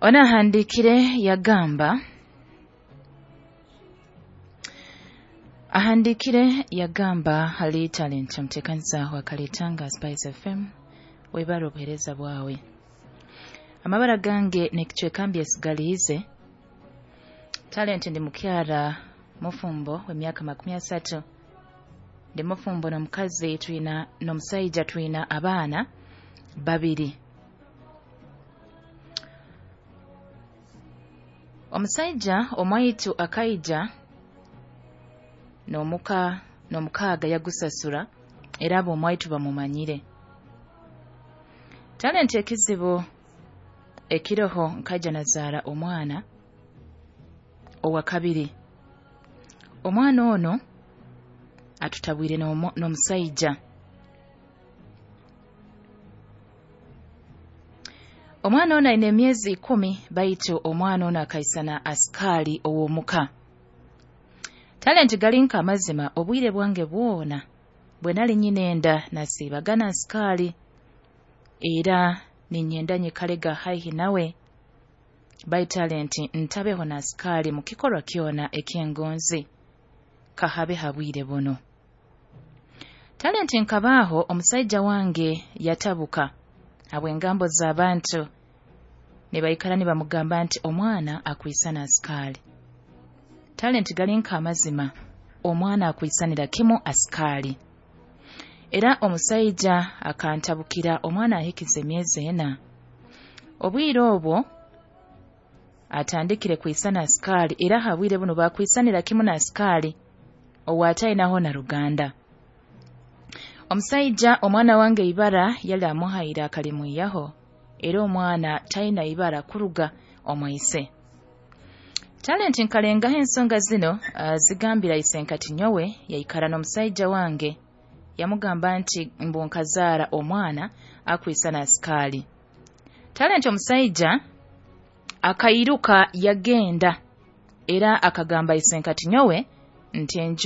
Ono ahandiikire yagamba, ahandiikire yagamba hali Talent, omuteekaniza wa Kalitanga Spice FM, webare obuheereza bwawe. Amabara gange n'ekicweka mbyesigaliize. Talent, ndi mukyara mufumbo w'emyaka 30. Ndi mufumbo n'omukazi twina n'omusaija, twina abaana 2. Omusaija omwaitu akaija n'omuka n'omukaaga yagusasura, era abo omwaitu bamumanyire. Talent, ekizibu ekiroho nkaija nazaara omwana owa kabiri. Omwana ono atutabwire n'omusaija. Omwana ono aine emyezi 10, baitu omwana ono akaisana asikaali ow'omuka. Talent, gali nk'amazima, obwire bwange bwona bwe nali nyine enda nasiibaga na asikaali, era ninyenda nyikalega haihi nawe, baitu Talent ntabeho na asikaali mu kikorwa kyona eky'engonzi kahabe ha bwire buno. Talent, nkabaaho omusaija wange yatabuka habw'engambo z'abantu nibaikara nibamugamba nti omwana akwisana asikaali. Talent, gali nk'amazima, omwana akwisanira kimu asikaali. Era omusaija akantabukira omwana ahikize emyezi 4. Obwire obwo atandikire kwisana asikaali, era ha bwire buno bakwisanira kimu na asikaali ow'atainaho na ruganda. Omusaija omwana wange ibara yali amuhaire akalimwihaho, era omwana taina ibara kuruga omwise. Talent, nkalengaho ensonga zino zigambira isenkati nyowe, yaikara n'omusaija wange yamugamba nti mbu nkazaara omwana akwisana asikaali. Talent, omusaija akairuka yagenda, era akagamba isenkati nyowe nti enju